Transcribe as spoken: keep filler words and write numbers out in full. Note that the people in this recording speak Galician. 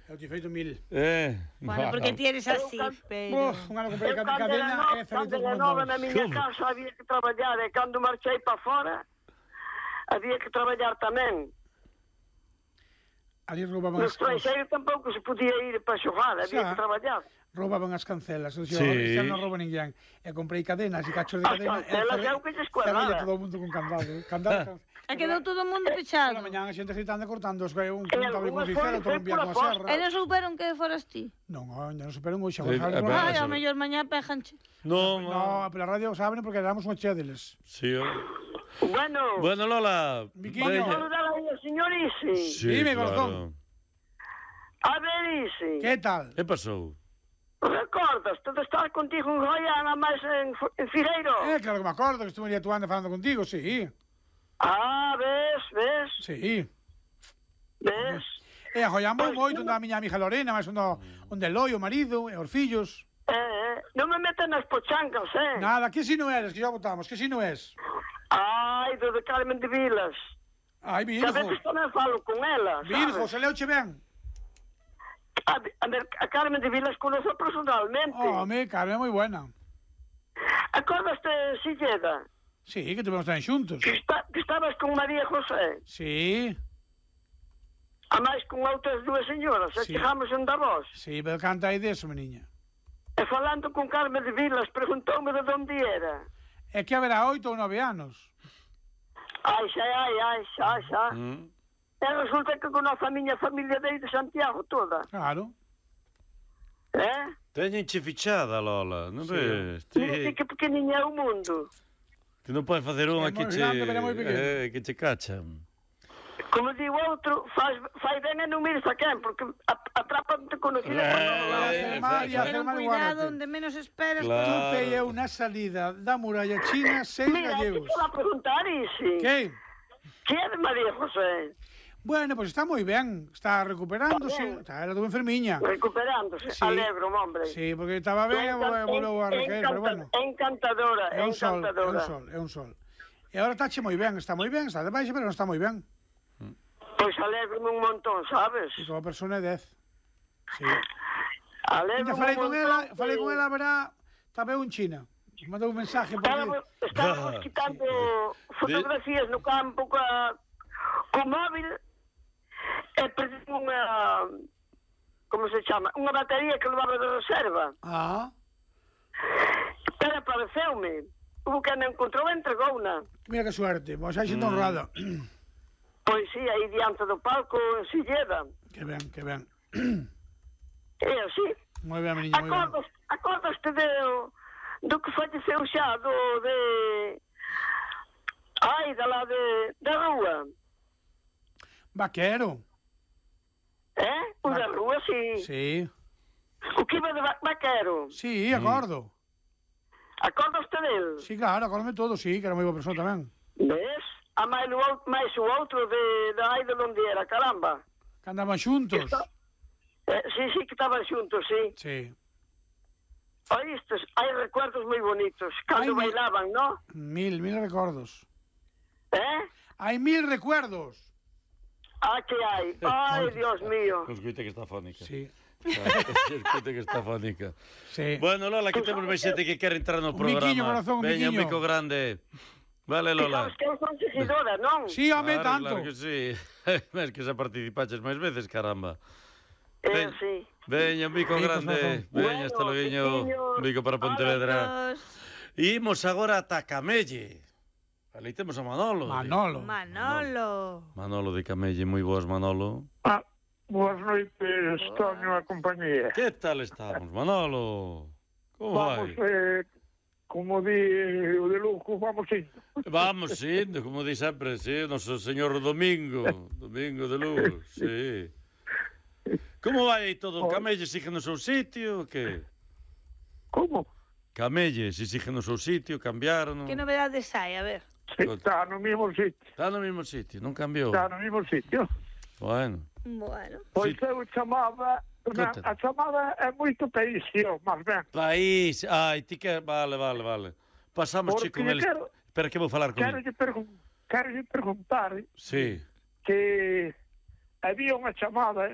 Eu te feito mil. Eh, Bueno, porque ti eres así, pero... Uf, unha comprei Eu cadena cando era nova, e cando feliz era como nova todos. na miña casa había que traballar e cando marchei para fora había que traballar tamén. Ali roubaban No as estranxeiro tampouco se podía ir para xogar, había Xa. que traballar. roubaban as cancelas. Eu Sí. dixo, xa non rouba ninguén. E comprei cadenas e cachos de As cadena. cancelas é o que lles cuadraba. Cerrella todo o mundo con candado. Candado. E quedou todo o mundo pechado. Pola mañá a xente gritando e cortando os un En contable con algunhas cicero, foi- outro foi envía pola coa posta. serra. E non souberon que foras ti. Non, ainda non superan hoxe. Eh, Agora saben eh, por ben, Ai, eso- ao mellor mañá pejanche. No, No, pela radio saben porque éramos unha chea deles. Sí, oh. Bueno, Bueno, Lola. Miquiño. vamos a veña. saludar aí ao señor Isi. Sí, Dime, claro. corazón. A ver, Isi. Que tal? Que pasou? Recordas, todo estar contigo en Goiânia, máis en, en Fireiro? Eh, claro que me acordo que estuve atuando falando contigo, sí. Ah, ves, ves, Sí. ves. E a jollamos moito onde a miña amiga Lorena, máis onde, onde Eloi, o marido, e os fillos. Eh, eh, non me meten nas pochancas, eh? Nada, que si non eres, que xa votamos, que si non és. Ai, do de Carmen de Vilas. Ai, Que a Virgo. veces tamén falo con ela, Virgo, sabes? se leuche ben. A, a, ver, a Carmen de Vilas conoce personalmente. Home, Carmen é moi buena. Acordaste, Silleda, Sí, que tuvemos tamén xuntos. que, está, que estabas con María José, Sí, a máis con outras dúas señoras, e Sí. chegamos en Davos. sí, pero canta aí deso, meniña. E falando con Carmen de Vilas, preguntoume de onde era. É que haberá oito ou nove anos. Ai, xa, ai, ai, xa, xa. Mm. E resulta que conoce a miña familia de aí de Santiago toda. Claro. Eh? Teñenche fichada, Lola, non Sí. ves? Mira Ti, que pequeniña é o mundo. ti non podes facer unha É que moi che, grande, pero é moi pequeno. eh, que che cachan. Como digo outro, faz, fai ben e non mires a quen, porque atrapan-te conocida por Eh, todos lados. hacer mal y hacer Ten mal, cuidado guárdate. onde menos esperas. Claro. Tupe eu na salida da muralla china seis Mira, te gallegos. quero preguntar, Isi. Que? Que é de María José? Bueno, pues está moi ben, está recuperándose, Está ben. está, era tuvo enfermiña. Recuperándose. Sí. Alegro, hombre. Sí, porque estaba ben e Encan- volveu a recaer, pero bueno. Encantadora, É un sol, é un encantadora. sol, é un sol. E agora está che moi ben, está moi ben, está de baixa, pero non está moi ben. Pois alegro-me un montón, sabes? E como persona é dez. Sí. Alegro-me Ainda falei un con montón ela, que- falei con ela, verá, estaba eu en China. Mandou un mensaje por Estábamos, aquí. estábamos quitando fotografías no campo ca, co móvil e perdí unha, como se chama, unha batería que levaba de reserva. Ah, Pero apareceume. Hubo que me encontrou e entregouna. mira que suerte, pois hai xente honrada. Pois sí, aí diante do palco en Silleda. Que ben, que ben. É así. Moi ben, meniña, moi ben. Acordas, acordaste de, do que falleceu xa, do de... Ai, da lá de, da rúa. Vaquero. Eh? O da rúa, sí. Sí, O que iba de va- vaquero. sí, acordo. Acordaste del? Sí, claro, acórdame todo, sí, que era moi boa persona tamén. Ves? A máis o, out- máis o outro de, da ai de onde era, caramba. Que andaban xuntos. Está- Eh, sí, sí, que estaban xuntos, sí. Sí. Oístes, hai recuerdos moi bonitos. Cando Ai, mi- bailaban, ¿no? Mil, mil recordos. Eh? Hai mil recuerdos. Ah, que hai. Ai, Dios mío. Escoita que está fónica. Sí, Escoita que está fónica. sí. Bueno, Lola, que temos máis xente que quere entrar no Un programa. biquiño, corazón, un Veña, un biquiño. bico grande. Vale, Que Lola. sabes que eu son seguidora, non? Sí, home, Claro, tanto. claro que sí. Es que xa participaches máis veces, caramba. Eh, Ven. sí. Veña, un bico Bicos, grande. corazón. Veña, hasta Bueno, loguiño. biquiños. Un bico para Pontevedra. Adiós. Imos agora ata Camelle. Ali temos a Manolo. Manolo. Manolo. Manolo de Camelle, moi boas, Manolo. Ah, boas noites, Toño a compañía. Que tal estamos, Manolo? Como Vamos, vai? eh, como di o de Luco, vamos indo. Vamos indo, como di sempre, sí, o noso señor Domingo, Domingo de Luz, sí. Como vai aí todo? Camelle sigue no seu sitio, o que? Como? Camelle, si sigue no seu sitio, cambiaron? Que novedades hai? A ver. Sí, está no mismo sitio. Está no mesmo sitio, non cambiou? Está no mismo sitio. Bueno, Bueno. Pois Sí. eu chamaba... Na, Conta. a chamada é moito paísio, mas ben. país, ai, ti que... Vale, vale, vale. Pasamos Porque che con eles. quero- Espera que vou falar con Quero ele. lle pergun quero lle perguntar Sí. que había unha chamada